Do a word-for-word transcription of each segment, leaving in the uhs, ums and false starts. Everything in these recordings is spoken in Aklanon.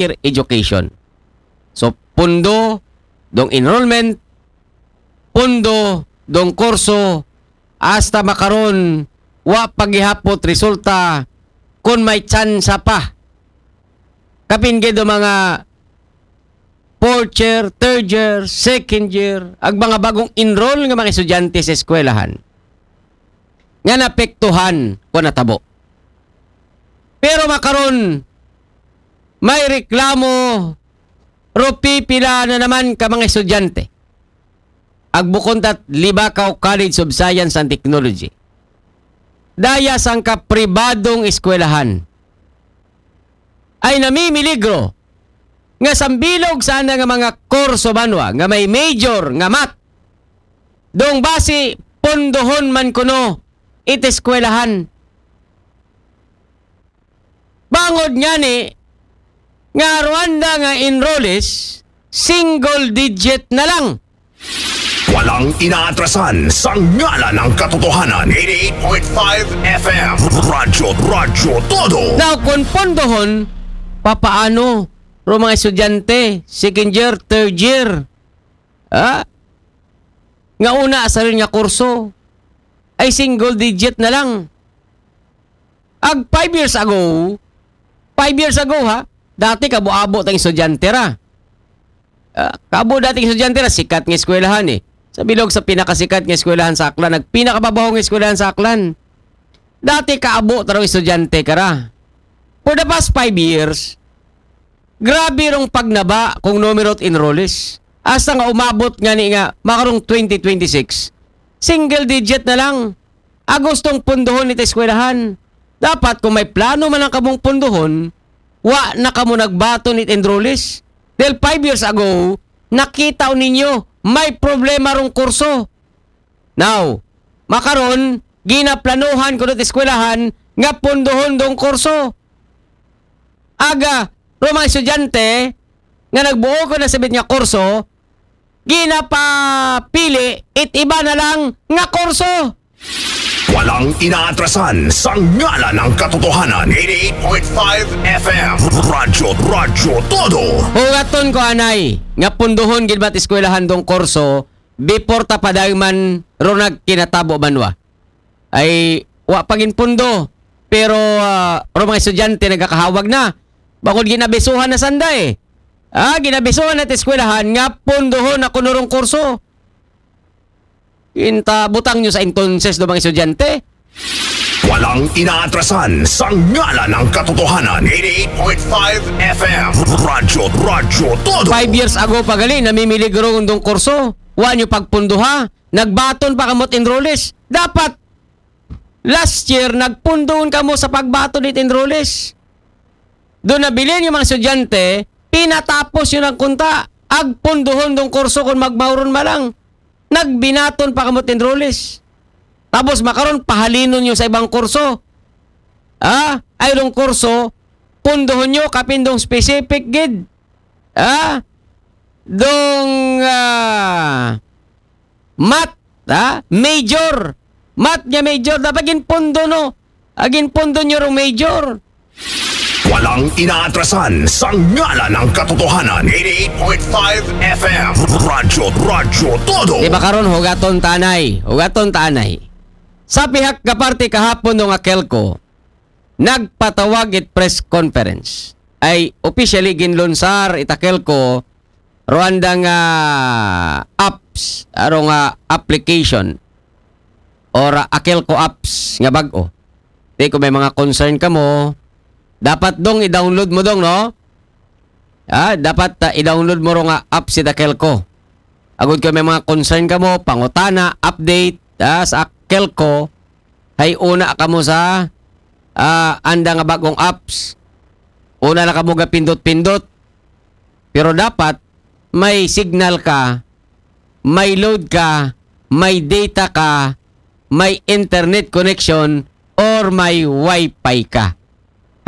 year education. So, pundo dong enrollment, pundo dong kurso, hasta makaron, wa pa gihapon resulta kon may tsansa pa. Kapin gid ang mga fourth year, third year, second year, ag mga bagong enroll nga mga estudyante sa eskwelahan nga napektuhan kon natabo. Pero makaron, may reklamo, ro pipila na naman ka mga estudyante. Ag bukon tat Libacao College of Science and Technology. Daya sangka pribadong eskwelahan ay namimiligro nga sambilog sana nga mga kurso banwa nga may major nga math. Dong basi pondohon man kuno it eskwelahan. Bangod ngani nga Rwanda nga enrollees, single digit na lang. Walang inaatrasan sa ngalan ng katotohanan. eighty-eight point five F M. Radyo, Radyo Todo. Now, kung pondohon, papaano ro mga estudyante, second year, third year, ha? Nga una sa rin nga kurso, ay single digit na lang. Ag five years ago, five years ago ha, dati kabo-abo tang estudyante ra. Ah, kabo dating estudyante ra, sikat nga eskwelahan eh. Sa bilog sa pinakasikat nga eskwelahan sa Aklan, nagpinakababaho nga eskwelahan sa Aklan. Dati kaabo ta raw estudyante ka ra. For the past five years, grabe rong pagnaba kung numero it enrollees. Hasta nga umabot ngani nga makarong twenty twenty-six, single digit na lang. Agustong punduhon it eskwelahan. Dapat kung may plano man lang kamong punduhon, wa na kamo nagbaton it enrollees. Dahil five years ago, nakita ninyo, may problema rong kurso. Now, makaron, ginaplanuhan kuno it eskwelahan nga punduhon dong kurso. Aga, ro mga estudyante nga nagbuo ko na sabit nga kurso, ginapapili it iba na lang nga kurso. Walang inaatrasan sa ngalan ng katotohanan. eighty-eight point five F M. Radyo, Radyo Todo. Hugaton ko anay, nga punduhon gid ba't eskwelahan dong kurso, before ta pa dayman ro nagkinatabo banwa. Ay, wa pa gin pundo, pero ah, ro mga estudyante nagakahawag na. Bangod ginabisuhan na sanda eh. Ah, ginabisuhan na it eskwelahan nga punduhon na kuno rong kurso. Inta butang nyo sa entonces do mga estudyante. Walang inaatrasan sa ngalan ng katotohanan. eighty-eight point five F M. Radyo, Radyo Todo. Five years ago pa gali, namimiligro dong kurso. Wa nyo pagpunduha. Nagbaton pa kamot enrollees. Dapat, last year, nagpunduhon kamo sa pagbaton it enrollees. Doon nabilin yung mga estudyante, pinatapos yun ang kunta. Agpunduhon dong kurso kung magmauron malang. Nagbinaton pa kamot enrollees. Tapos makaron, pahalinon nyo sa ibang kurso. Ah, ay dong kurso, punduhon nyo, kapin dong specific gid. Ah, dong ah, math, ah, major. Math nga major, dapat ginpundo no. Agin pundo nyo rong major. Walang inaatrasan sa ngalan ng katotohanan. eighty-eight point five F M. Radyo, Radyo Todo. Di ba karon, hugaton ta anay? Hugaton ta anay. Sa pihak nga parte kahapon nga Kelco, nagpatawag it press conference. Ay officially ginlunsar it Akelco, Rwanda nga apps, aro nga application, or Akelco apps nga bag-o. Di ko may mga concern kamo, dapat dong i-download mo dong, no? Ah, dapat ah, i-download mo ro nga apps it Akelco. Agud ko may mga concern kamo, pangutana, update ah, sa Akelco, hay una kamo sa ah, anda nga bagong apps. Una na kamo gapindot-pindot. Pero dapat may signal ka, may load ka, may data ka, may internet connection, or may wifi ka.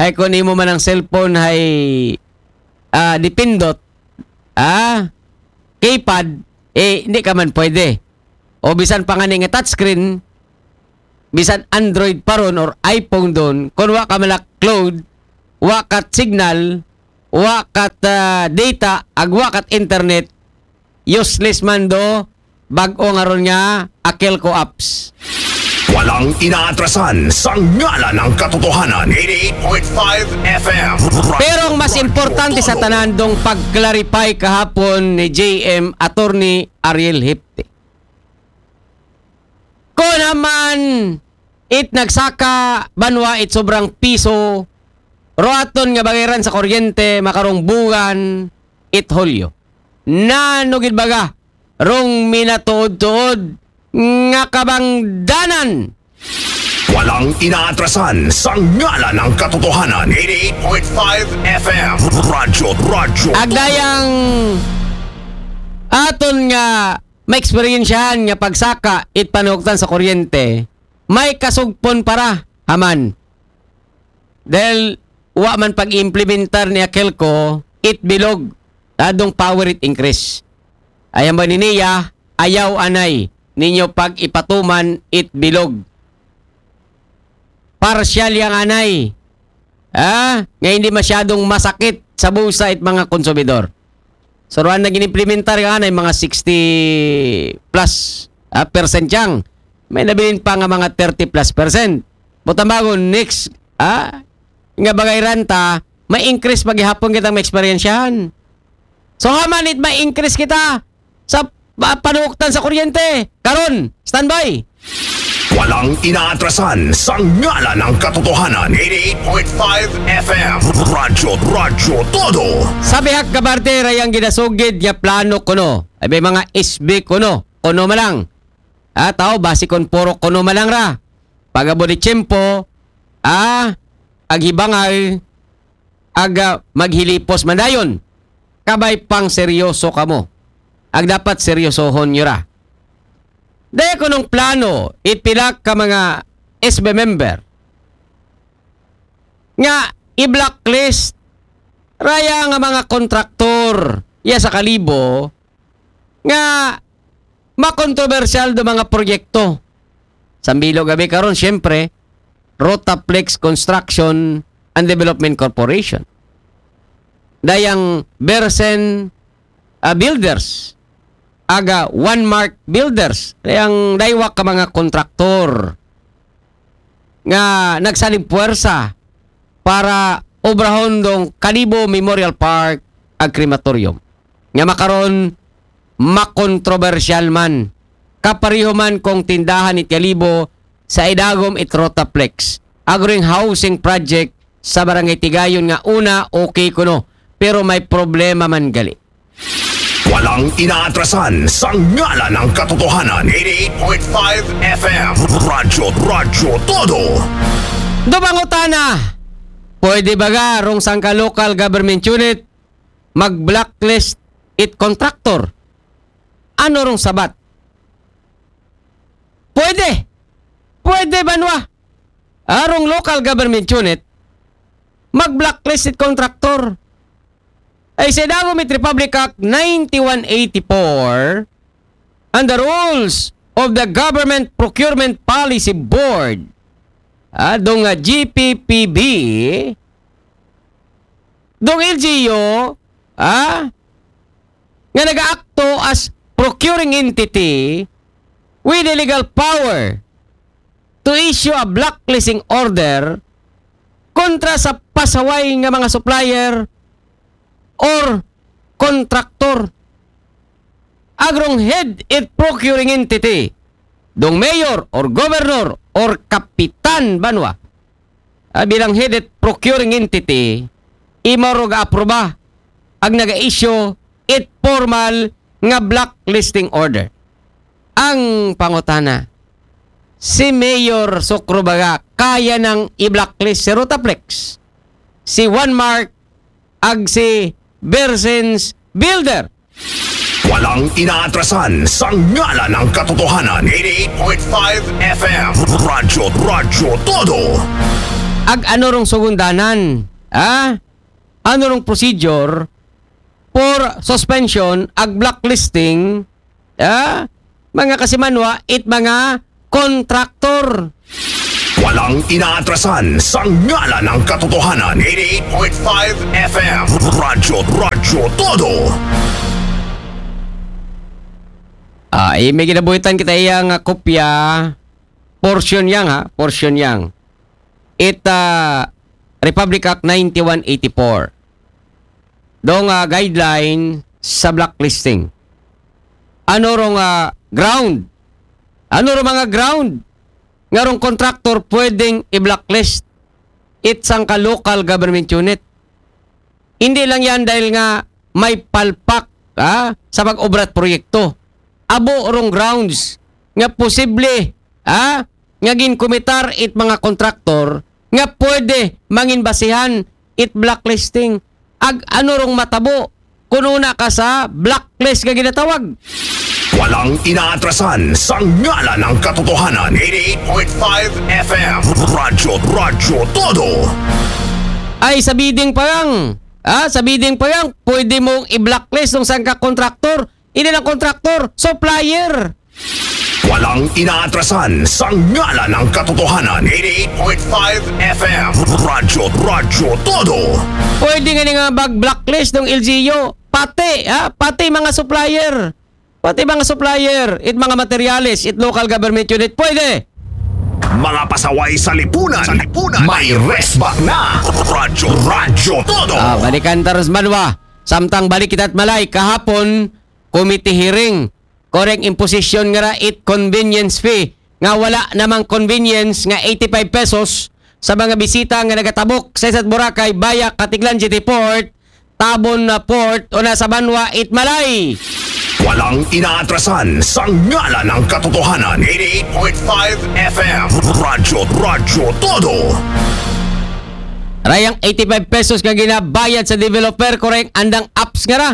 Hay kung imo man ang cellphone hay ah, dipindot, ah, keypad, eh, hindi ka man pwede. O bisan pa nga nga touchscreen, bisan Android pa ron or iPhone doon, kung wa ka malak load, wa ka signal, wa kat ah, data, ag wa kat internet, useless man do bag-o nga ron nga Akelco apps. Walang inaatrasan sa ngalan ng katotohanan. eighty-eight point five F M. Pero ang mas importante sa tanan dong pag-clarify kahapon ni J M, Attorney Ariel Hipte. Kung naman it nagsaka banwa it sobrang piso, roaton nga bagayran sa kuryente, makarong bugan, it Hulyo. Nano gid baga rong minatuod-tuod nga kabangdanan. Walang inaatrasan sa ngalan ng katotohanan. eighty-eight point five F M. Radyo, radyo. Agdayang aton nga maeksperiensyahan nga pagsaka it panuktan sa kuryente, may kasugpon para haman. Dahil wa man pag-implementar ni Akelco it bilog, adong power it increase. Ayan ba niniya, ayaw anay ninyo pag ipatuman it bilog. Parsyal yang anay. Ah, nga hindi masyadong masakit sa busa it mga konsumidor. So, ruan na ginimplementar ka anay mga sixty plus ah, percent yang. May nabilin pa nga mga thirty plus percent. Butambagon, next, ah, nga bagay ranta, may increase paghihapon kitang maeksperiensyahan. So, haman it may increase kita sa pa- panuktan sa kuryente. Karon, standby. Walang inaatrasan sa ngalan ng katotohanan. eighty-eight point five F M. Radyo, radyo, todo. Sa bihag kabarte, rayang ginasugid nga plano kuno. Ay may mga S B kuno. Kuno man lang. Ah, tao, basi kon puro kuno man lang ra. Pagabot ni tiyempo, ah, aghibangay, aga maghilipos man dayon. Kabay pang seryoso kamo. Ag dapat seryosohon nyo ra. Dahil kunong plano, ipila ka mga S B member nga i-blacklist raya nga mga kontraktor ya sa Kalibo nga makontrobersyal do mga proyekto. Sambilo gabi karon, siyempre, Rotaplex Construction and Development Corporation. Dayang Bersen ah, Builders, aga One Mark Builders, dayang daywa ka mga kontraktor nga nagsalig puwersa para obrahon dong Kalibo Memorial Park ag crematorium. Nga makaron makontrobersyal man. Kapareho man kong tindahan it Kalibo sa idagom it Rotaplex. Agring housing project sa Barangay Tigayon nga una okay kuno, pero may problema man gali. Walang inaatrasan sa ngalan ng katotohanan. eighty-eight point five F M. Radyo, radyo, todo. Do pangutana, pwede ba ga rong sangka local government unit mag-blacklist it contractor? Ano rong sabat? Pwede. Pwede banwa. Arong local government unit, mag-blacklist it contractor. Ay sa idagom it Republic Act ninety-one eighty-four and the rules of the Government Procurement Policy Board, ah, dong ah, G P P B, dong L G U, ah, nga nagaakto as procuring entity with the legal power to issue a blacklisting order kontra sa pasaway nga mga supplier or contractor. Agrong head it procuring entity, dong mayor or governor or kapitan banwa, ah, bilang head it procuring entity, imo ro ga-aproba ag naga-issue it formal nga blacklisting order. Ang pangutana, si Mayor Sokro baga kaya nang i-blacklist si Rotaplex, si One Mark, ag si Bersens Builder? Walang inaatrasan sa ngalan ng katotohanan. eighty-eight point five F M. Radyo, radyo, todo. Ag ano rong sugundanan? Ah? Ano rong procedure for suspension ag blacklisting? Ah? Mga kasimanwa, it mga contractor. Walang inaatrasan sa ngalan ng katotohanan. Eighty-eight point five F M. Radyo, Radyo Todo. Ah, eh, may ginabuhitan kita iya nga kopya, portion yang ha, portion yang. It ah, Republic Act ninety-one eighty-four. Dong ah, guideline sa blacklisting. Ano rong ah, ground? Ano rong mga ground nga rong contractor pwedeng i-blacklist it sangka local government unit? Hindi lang yan dahil nga may palpak ha, sa pag-obra at proyekto. Abo rong grounds nga posible ha, nga ginkumitar it mga kontraktor nga pwede mangin basihan it blacklisting. Ag ano rong matabo kung una ka sa blacklist nga ginatawag? Walang inaatrasan sa ngalan ng katotohanan. Eighty-eight point five F M. Radyo, Radyo Todo. Ay, sa bidding pa lang. Ha? Sa bidding pa lang, pwede mong i-blacklist ng sangka kontraktor. Hindi lang kontraktor, supplier. Walang inaatrasan sa ngalan ng katotohanan. Eighty-eight point five F M. Radyo, Radyo Todo. Pwede nga nga mag-blacklist ng L G U. Pati, ha? Pati mga supplier. Pati mga supplier, it mga materyales, it local government unit, pwede. Mga pasaway sa lipunan. Sa lipunan. May resback na. Radyo, Radyo Todo. Ah, balikan taros manwa. Samtang balik kita't malay, kahapon, committee hearing. Koreng imposition nga ra it convenience fee. Nga wala namang convenience nga eighty-five pesos sa mga bisita nga nagatabok sa isa't Boracay via Catiglan Jetty Port, Tabon na Port o nasa banwa it malay. Walang inaatrasan sa ngalan ng katotohanan. Eighty-eight point five F M. Radyo, Radyo Todo. Rayang eighty-five pesos nga ginabayad sa developer, koreng andang apps nga ra.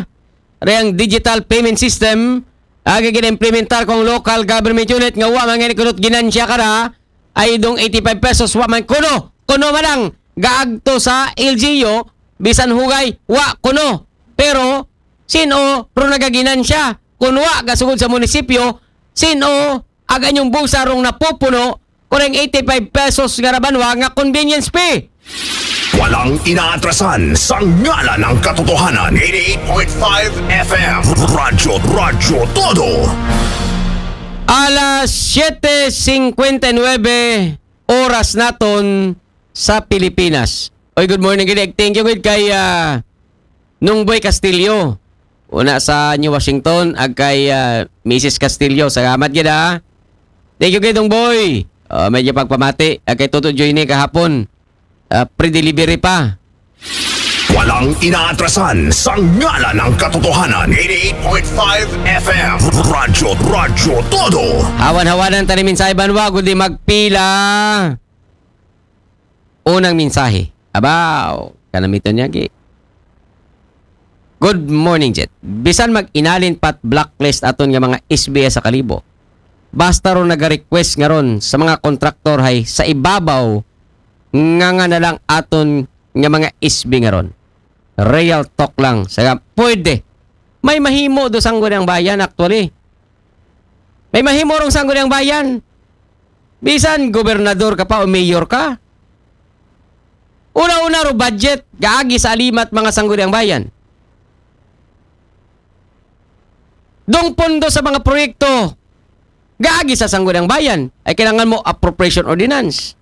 Rayang digital payment system aga gina-implementar kong local government unit nga wa man gani kunot ginansya ka ra, ay dong eighty-five pesos wa man kuno. Kuno man ang gaagto sa L G U, bisan hugay, wa kuno. Pero, sino ro nagaginansya? Kung wa gasugod sa munisipyo, sino aga inyong bulsa rong napupuno, koreng eighty-five pesos nga ra banwa nga convenience fee? Walang inaatrasan sa ngalan ng katotohanan. Eighty-eight point five F M. Radyo, Radyo Todo. Alas siete cincuenta y nueve oras naton sa Pilipinas. Oy, good morning gid. Thank you gid kay ah, Nungboy Castillo. Una sa New Washington, ag kay ah, Missus Castillo. Salamat gid ha. Thank you gid, Nungboy. Oh, medyo pagpamati. Ag kay Toto Joyne kahapon. Ah, pre-delivery pa. Walang inaatrasan sa ngalan ng katotohanan. Eighty-eight point five F M. Radyo, Radyo Todo. Hawan-hawanan tani mensahe banwa, kundi magpila. Unang mensahe. Abaw, kanamiton niya gi. Good morning, Jet. Bisan mag-inalin pat blacklist aton nga mga S B S sa Kalibo. Basta ron naga-request nga ron sa mga kontraktor hay sa ibabaw nga nga na lang aton nga mga S B nga ron. Real talk lang. Sa pwede. May mahimo do Sangguniang Bayan actually. May mahimo rong Sangguniang Bayan. Bisan gobernador ka pa o mayor ka. Una-una ro budget, gaagi sa alimat mga Sangguniang Bayan. Dong pondo sa mga proyekto, gaagi sa Sangguniang Bayan. Ay kailangan mo appropriation ordinance.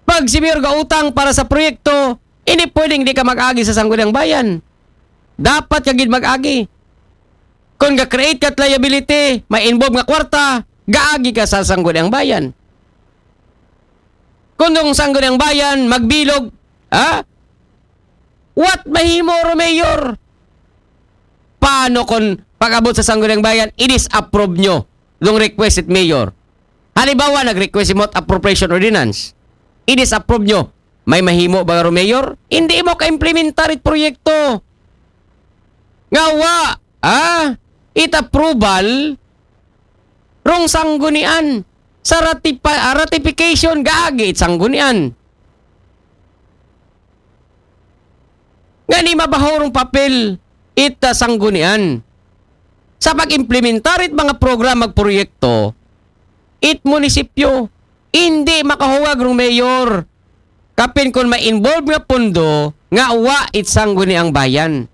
Pag si mayor gautang para sa proyekto, hindi pwedeng di ka mag-agi sa Sangguniang Bayan. Dapat ka gid mag-agi. Kung ga-create ka liability, may involve nga kwarta, gaagi ka sa Sangguniang Bayan. Kung dong Sangguniang Bayan, magbilog, ha? What mahimo ro mayor? Paano kung pag-abot sa Sangguniang Bayan, i-disapprove nyo dong request it mayor? Halimbawa, nag-request mo appropriation ordinance. I-disapprove nyo. May mahimo ba ro mayor? Hindi mo ka-implementar it proyekto. Nga wa, ah, it approval rong sanggunian. Sa ratipa, ah, ratification, gaagi it sanggunian. Nga ni mabaho rong papel it ah, sanggunian. Sa pag-implementar it mga programa ag proyekto, it munisipyo, Indi makahungag rung mayor. Kapin kun ma-involve nga pundo, nga wa it Sangguniang Bayan.